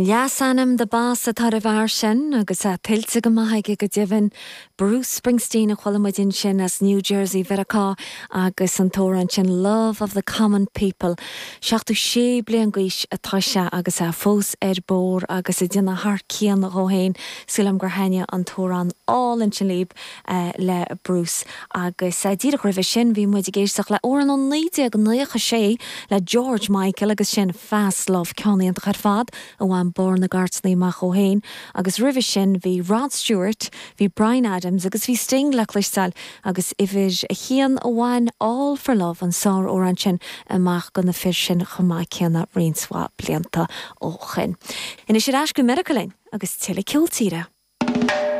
Leasainm The Boss atá ar an bhfear sin agus é tuillte go maith aige go deimhin. Bruce Springsteen a chuala muid ansin as New Jersey Mheiriceá agus an t-amhrán sin Love of the Common People. 76 bliain d'aois atá sé agus é fós ar bord agus ag déanamh thar cionn dhó féin. Sílim gur thaitnigh an t-amhrán álainn sin libh le Bruce. Agus díreach roimhe sin bhí muid ag éisteacht le amhrán ó 1996 le George Michael agus sin Fast Love, ceann iontach ar fad a bhain barr na gcairteanna amach dhó féin. Agus roimhe sin bhí Rod Stewart, bhí Bryan Adams agus bhí Sting le cloisteáil agus uimhir a haon a bhain All For Love, an sár-amhrán sin, amach do na fir sin chomh maith céanna roinnt mhaith blianta ó shoin. Anois ar ais go Meiriceá linn agus tuilleadh ceol tíre.